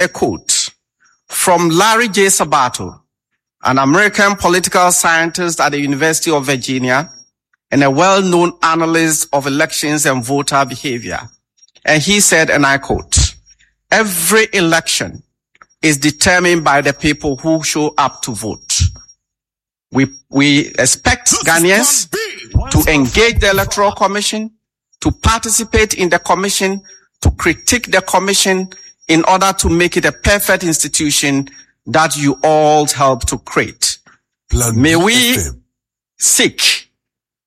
a quote from Larry J. Sabato, an American political scientist at the University of Virginia and a well-known analyst of elections and voter behavior. And he said, and I quote, every election is determined by the people who show up to vote. We, we expect Ghanaians to engage the Electoral Commission, to participate in the commission, to critique the commission in order to make it a perfect institution that you all help to create. Plan May we FM. seek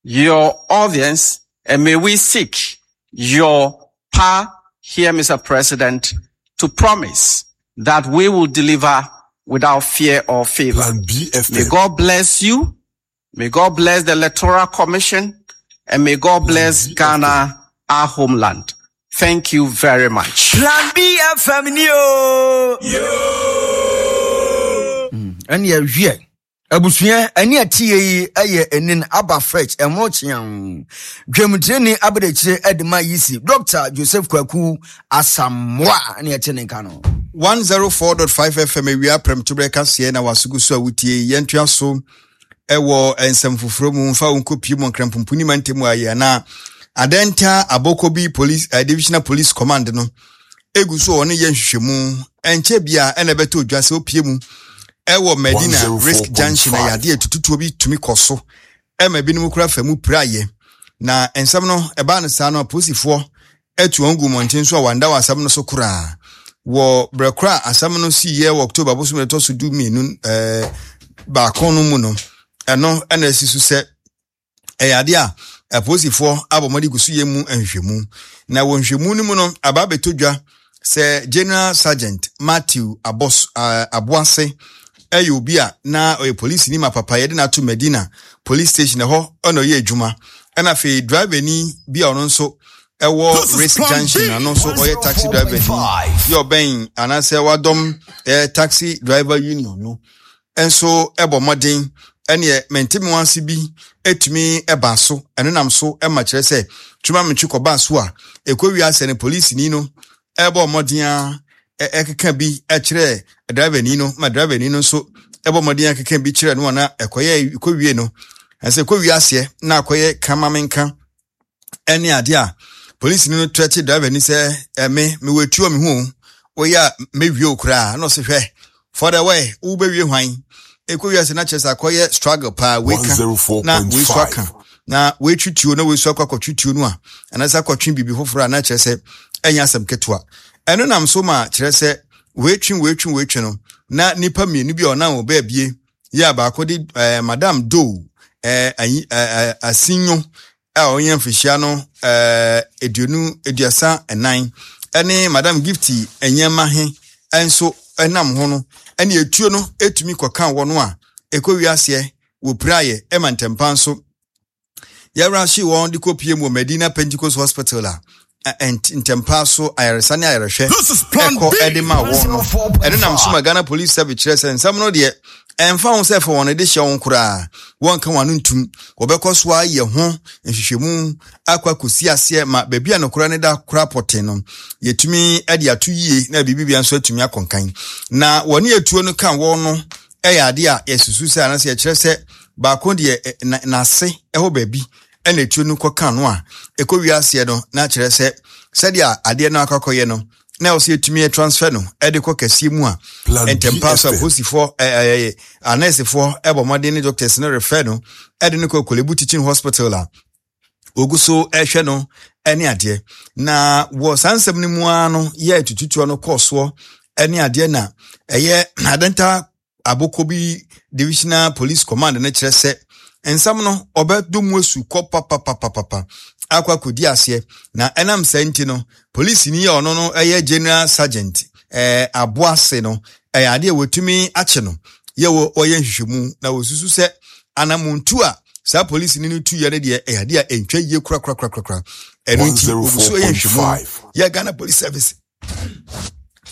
your audience and may we seek your power here, Mr. President, to promise that we will deliver without fear or favor. Plan B May FM. God bless you. May God bless the Electoral Commission and may God bless Ghana, our homeland. Thank you very much. Plan B FM ni o. Ɛne ɛhwiɛ abusua ɛne ɛteɛ yi ɛyɛ ɛnin aba fresh ɛmo kyeaw dwamtireni abɛdɛkyire ɛde ma yisi Dr. Joseph Kwaku Asamoah ɛne ɛte ne nka no. 104.5 FM awia prɛmtoberɛ kaseɛ na wasogu so a wotie yɛntoa so ɛwɔ nsɛm foforɔ mu mfa wo nkɔpie mu nkrampumpuni ma ntɛmu ayɛ anaa adɛnta abɔkɔ bi police uh, divisional police command no egu so a wɔne yɛ nhwehwɛmu ɛnkyɛ bia ɛna ɛbɛtɔ odwa sɛ opie mu ɛwɔ Medina Risk Junction ɛyɛ adeɛ tututuo bi tumi kɔ so ɛma ebinom kura fa mu piraeɛ na nsɛm no ɛbaa no saa no apolisifoɔ atu wɔn gu mmɔnten so a wɔanda wɔ asɛm no so koraa wɔ berɛ koro a asɛm no siiɛ wɔ October bosom ɛtɔ so du mmienu ɛɛ baako no mu no ɛno ɛna asi so sɛ ɛyɛ adeɛ a apolisifoɔ abɔ mmɔden gu so yɛ mu nhwehwɛmu na wɔ nhwehwɛmu no mu no aba abɛtɔ dwa sɛ General Sergeant Matthew Abos, uh, Aboase ɛyɛ obi a na ɔyɛ polisini ma papa yɛde no ato Medina police station ɛhɔ ɛna ɔyɛ adwuma ɛna afei driver ni bi a ɔno nso ɛwɔ Risk Junction ano nso ɔyɛ taxi driver ni yɛ ɔbɛn anaasɛ wadɔm ɛyɛ taxi driver union no nso bɔ mmɔden ɛneɛ mente-me-ho-ase bi tumi ba so ɛno nam so ma kyerɛ sɛ twema metwe kɔba so a ɛkɔ wie asɛ no polisini no ɛbɔ mmɔden a ɛkeka bi kyerɛ driverni no ma driverni no nso ɛbɔ mmɔden akeka bi kyerɛ no ana ɛkɔyɛ ɛkɔ wie no ɛsɛ ɛkɔ wie aseɛ na akɔyɛ kama menka ɛne adeɛ a polisini no trɛte driver ni sɛ ɛme mewɔ atuo me ho o woyɛ a mɛwie o koraa na ɔse hwɛ for the way wobɛwie hwan ɛkɔ wiase na kyerɛ sɛ akɔyɛ struggle paa weika na wei so aka na weitwi tuo na wei so akɔ akɔtwe tuo no a anaasɛ akɔtwe biribi foforɔ a na kyerɛ sɛ ɛnyɛ asɛm ketewa ɛno nam so ma kyerɛ sɛ weitwi weitwi weitwi no na nipa mmienu bi a ɔnam wɔ baabie yɛ a baako de ɛɛ eh, madam doe ɛɛ eh, ɛɛ eh, asinyo a ɔnyɛ mfirihyia no ɛɛ aduonu aduasa nnan ɛne madam gifty ɛnyɛma he nso ɛnam ho no ɛne etuo no etumi kɔka wɔn a ɛkɔ wiaseɛ wɔ piraeɛ ɛma ntɛmpa nso yɛwura hye wɔn de kɔpie mu wɔ Medina Pentecost Hospital a ntɛmpa so ayaresa ne ayarehwɛ ɛkɔ ɛde ma wɔn no ɛno nam so ma Ghana Police Service kyerɛ sɛ nsɛm no deɛ ɛmfa ho sɛ ɛfa wɔn de hyɛ wɔn koraa wɔnka wɔn ano ntum wɔbɛkɔ so ayɛ ho nhwehwɛmu akɔ akɔsi aseɛ ma baabi a nokorɛ no da kora pɔten no yɛtumi de ato yie na biribi nso atumi akɔnkan na wɔne atuo no ka wɔn no ɛyɛ adeɛ a yɛsusu sɛ anaasɛ yɛkyerɛ sɛ baako deɛ n'ase ɛhɔ baabi ɛna etuo no kɔka no a ɛkɔ wiaseɛ no na kyerɛ sɛ sɛdeɛ adeɛ no akɔkɔyɛ no na ɛwɔ sɛ yɛtumi transfer no ɛde kɔ kɛseɛ mu a ntɛmpa so apolisifoɔ ɛɛ anɛɛsefoɔ ɛbɔ mmɔden ne doctors no refer no ɛde no kɔ Korle Bu Teaching Hospital a ogu so ɛhwɛ no ɛne adeɛ na wɔ saa nsɛm no mu ara no yɛ tututuo no kɔɔ soɔ ɛne adeɛ na ɛyɛ adenta aboko bi divisional police command no kyerɛ sɛ nsɛm no ɔbɛdɔ mu asu kɔ papapapapa akɔ akɔdi aseɛ na ɛnam saa nti no polisini a ɔno no ɛyɛ general sergeant ɛɛ aboase no ɛyɛ adeɛ a wɔtumi akye no yɛ wɔ wɔyɛ nhwehwɛmu na wɔsusu sɛ anamontu a saa polisini no tu yɛ no deɛ ɛyɛ adeɛ a ɛntwa yie korakorakorakora ɛno nti wɔgu so yɛ nhwehwɛmu yɛ Ghana Police Service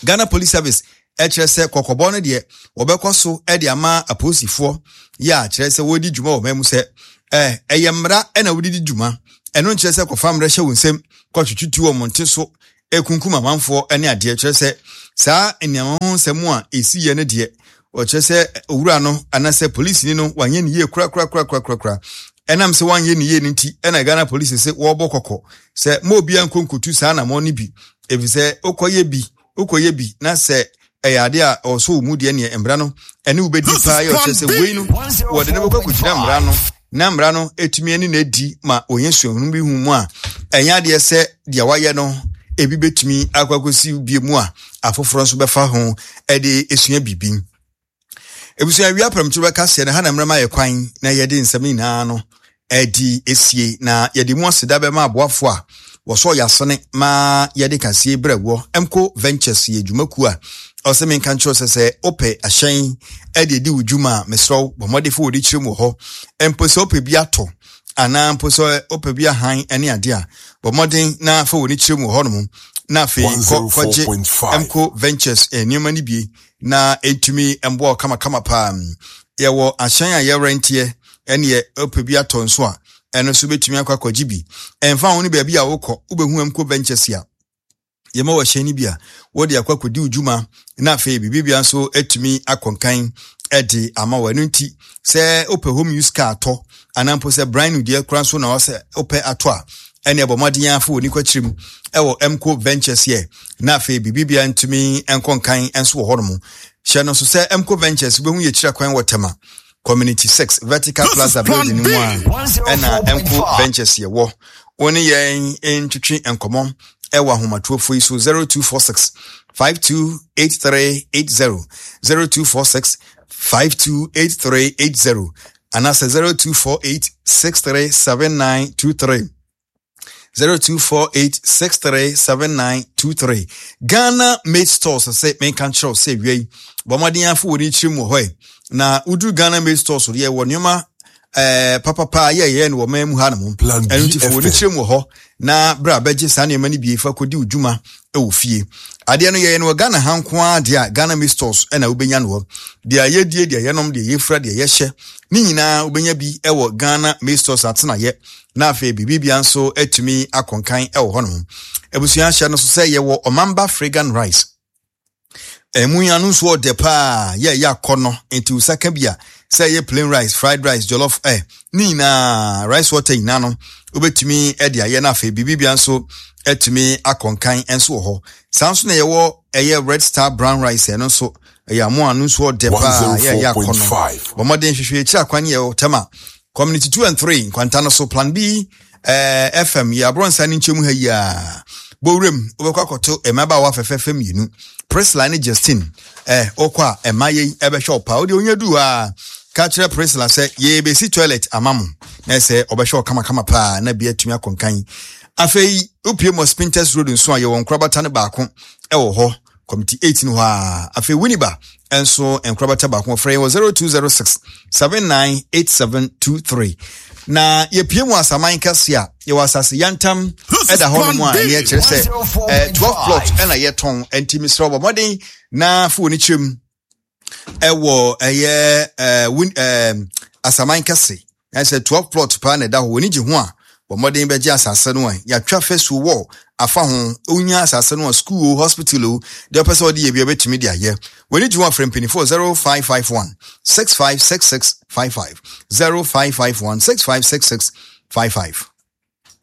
Ghana Police Service ɛkyerɛ sɛ kɔkɔbɔ no deɛ wɔbɛkɔ so de ama apolisifoɔ yɛ a kyerɛ sɛ wɔredi dwuma wɔ man mu sɛ ɛɛ ɛyɛ mmara ɛna wɔde di dwuma ɛno nkyerɛ sɛ kɔfa mmara hyɛ wɔn nsam kɔtwetwe tuo wɔ mmɔnten so ekunkum amanfoɔ ne adeɛ kyerɛ sɛ Saa nneɛma ho nsɛm a ɛsiiɛ no deɛ, ɔkyerɛ sɛ owura no anaasɛ polisini no wanyɛ ne yie korakorakorakorakora. Ɛnam sɛ wanyɛ ne yie no nti ɛna Ghana polisi sɛ wɔrebɔ kɔkɔ sɛ ma obiara nkɔ nkotu saa anammɔn no bi, ɛfiri sɛ wokɔyɛ bi wokɔyɛ bi na sɛ ɛyɛ ade a ɔwɔ so wɔ mu deɛ neɛ mmara no ɛne wobɛdi paa yɛ ɔkyerɛ sɛ wei no wɔde no bɛkɔ akɔgyina mmara no na mmara no ɛtumi ne no adi ma ɔnya suahunu bi hu mu a ɛnyɛ adeɛ sɛ deɛ wayɛ no ebi bɛtumi akɔ akɔsi bie mu a afoforɔ nso bɛfa ho ɛde esua biribi. Ebusua awia prɛmto bɛka seɛ no ha na mmerɛ ma yɛ kwan na yɛde nsɛm nyinaa no ɛde esie na yɛde mu aseda bɛma aboafo a wɔsɔ yasene ma yɛde kaseɛ brɛ wɔ Mco Ventures yɛ dwumakuo a ɔsɛ menka nkyerɛ sɛ sɛ wopɛ ahyɛn ɛde adi wo dwuma a mesrɛ wo bɔ mmɔden fa wɔde kyerɛ mu wɔ hɔ mpo sɛ wopɛ bi atɔ anaa mpo sɛ wopɛ bi ahan ne ade a bɔ mmɔden na fa wɔde kyerɛ mu wɔ hɔnom na afei kɔ kɔgye Mco Ventures nneɛma no bi na ɛntumi mboa wo kamakama paa. Yɛwɔ ahyɛn a yɛrɛnteɛ ɛneɛ wopɛ bi atɔ nso a ɛno nso bɛtumi akɔ akɔgye bi. Ɛmfa ho ne baabi a wokɔ, wobɛhu Mco Ventures a yɛma wɔ hyɛn no bi a wode akɔ akɔdi wo dwuma na afei biribibia nso atumi akɔ nkan ɛde ama wɔ. Ɛno nti sɛ wopɛ home use car tɔ anaa mpo sɛ brand new deɛ kora nso na ɔsɛ wopɛ atɔ a ɛne ɛbɔ mmɔden afo wɔ nikɔ kyerɛ mu ɛwɔ Mco Ventures yɛ na afei biribibia ntumi nkɔ nkan nso wɔ hɔnom. Hyɛ no nso sɛ Mco Ventures wobɛhu yɛ kyerɛ kwan wɔ Tema Community 6 Vertical This is Plaza Plan building no B. mu a ɛna Mco Ventures yɛ wɔ. Wo ne yɛn ntwetwe nkɔmmɔ ɛwɔ ahomatorofo yi so 0246 528380 0246 528380 anaasɛ 0248 637923 0248 637923. Ghana Made Stores sɛ menka nkyerɛ wo sɛ wia yi bɔ mmɔden afo wɔ ne kyerɛ mu wɔ hɔ ɛ na woduru Ghana Made Stores deɛ wɔ nneɛma papapa yɛ yɛ no wɔ man mu ha nom Plan ɛno nti fo wɔ ne BFM. kyerɛ mu wɔ hɔ na berɛ a bɛgye saa nneɛma no bi fa kɔdi wo dwuma wɔ fie. Adeɛ no yɛyɛ no wɔ Ghana ha nko ara deɛ a Ghana Made Stores ɛna wobɛnya no hɔ. Deɛ yɛdie, deɛ yɛnom, deɛ yɛfira, deɛ yɛhyɛ ne nyinaa wobɛnya bi wɔ Ghana Made Stores atenayɛ na afei biribibia nso atumi akɔnkan wɔ hɔnom. Abusua hyɛ no so sɛ yɛwɔ Ɔmamba Fragrant Rice. Ɛmu yi ano nso ɔdɛ paa yɛ ɛyɛ akɔnɔ nti wo saka bi a sɛ ɛyɛ plain rice, fried rice, jollof ne nyinaa rice water nyinaa no wobɛtumi de ayɛ na afei biribibia nso atumi akɔnkan nso wɔ hɔ. Saa nso na yɛwɔ ɛyɛ Red Star brown rice ɛno nso ɛyɛ amo ano nso ɔdɛ paa yɛ ɛyɛ akɔnɔ. 104.5. Bɔ mmɔden hwehwɛ akyiri akwan yɛ wɔ Tema Community 2 and 3 nkwanta no so Plan B FM yɛ aborɔnsa no nkyɛmu ha yi a bɔwuram wobɛkɔ akɔto mmabaawa fɛfɛɛfɛ mmienu Priscilla ne Justine wokɔ a ɛma yei ɛbɛhwɛ wo paa wodeɛ wonya duu a ka kyerɛ Priscilla sɛ yɛbɛsi toilet ama mo na sɛ ɔbɛhwɛ wo kamakama paa na bi atumi akɔnkan. Afei wopie mɔ Spintex Road nso a yɛwɔ nkorabata no baako ɛwɔ hɔ Committee 8 no hɔ a. Afei Winneba nso nkorabata baako wɔfrɛ yɛn wɔ 0206 798723. Na yɛpie mu asaman kɛse a yɛwɔ asase yantam ɛda hɔ nom a ɛne ɛkyerɛ sɛ 12 plot ɛna yɛtɔn nti mesrɛ wɔ mmɔden na fo wɔ ne kyerɛ mu ɛwɔ ɛyɛ win asaman kɛse na sɛ 12 plot paa na ɛda hɔ wɔn gye ho a bɔ mmɔden bɛgye asase no a yɛatwa fasuo wɔ afa ho wonya asase no a school o hospital o deɛ ɔpɛ sɛ ɔde yɛ bi a ɔbɛtumi de ayɛ wɔn gye ho afrɛ mpanimfoɔ 0551 656655 0551 656655.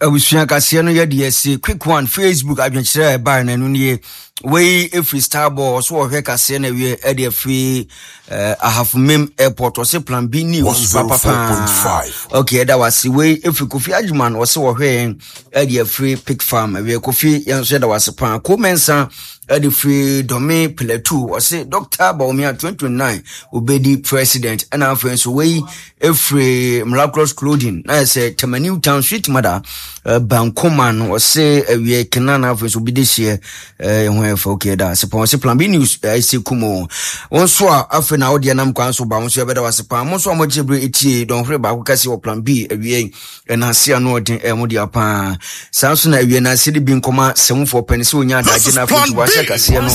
Abusua kaseɛ no yɛde asie quick one Facebook adwenkyerɛ a ɛbae no ɛno nie wei ɛfiri Starball ɔso ɔhwɛ kaseɛ no awie ɛde afiri Ahafomem airport ɔse plan B news papapaa 104.5. ok ɛda wase wei ɛfiri Kofi Agyeman ɔse ɔhwɛ yɛn ɛde afiri Pig Farm awie Kofi yɛn nso yɛda wase paa Ko Mensah ɛde firi Dome Plateau ɔse Dr. Bawumia 2029 obedi president ɛna afei nso wei ɛfiri Miraculous Clothing na yɛ sɛ Tema New Town Sweet Mother Bankoma no ɔse awie kena na afei nso obi de hyeɛ ɛho ɛfɛ okay da ase paa ɔse Plan B News ɛsɛ kum o wɔn nso a afei na awodeɛ nam kwan so ba wɔn nso yɛbɛda wase paa mo nso a mogye bere etie dɔnhwere baako kɛse wɔ Plan B awie ɛna ase ano ɔden ɛmo deɛ paa saa nso na awie na ase de bi nkɔma sɛmufoɔ pɛne sɛ onya adagye na afei nso wahyɛ kaseɛ no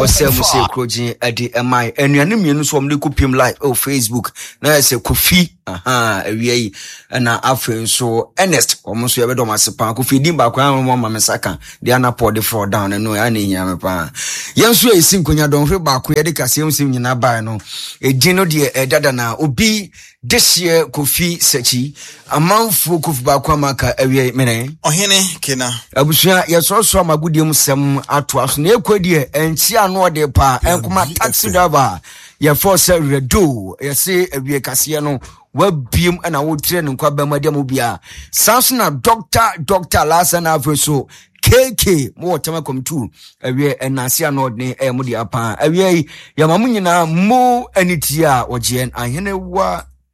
ɔsɛ mu sɛ kurogye ɛde ɛmae anuanom mmienu nso wɔn de kɔ piem live ɛwɔ Facebook na yɛ sɛ Kofi. Aha, awia yi ɛna afei nso Ernest, wɔn nso yɛbɛdɔ wɔn ase paa. Kofi din baako a wɔn ama me nsa ka deɛ ana Paul de fall down no ɛna ehia me paa. Yɛn nso yɛsi nkonya dɔnhwere baako yɛde kaseɛ nsɛm nyinaa bae no. Edin no deɛ ɛdada na obi dehyeɛ Kofi Sakyi amanfoɔ Kofi baako ama ka awia yi mene. Ɔhene Kena. Abusua yɛsɔsɔ amagodie mu sɛm atoa so na ekɔ deɛ ɛnkyia ano ɔde paa ɛnkoma taxi driver Yɛfrɛ sɛ werɛdoo, yɛse awie kaseɛ no wabiem na wokyerɛ ne nkwa bɛma deɛ mu bia. Saa nso na Dr. Dr. Lasa na afei so KK mo wɔ tɛmɛ kɔmtu awie ɛnase ano ɔdene ɛyɛ mo deɛ paa. Awie yi yɛma mo nyinaa mo ani tie a wɔgyeɛ ahenewa.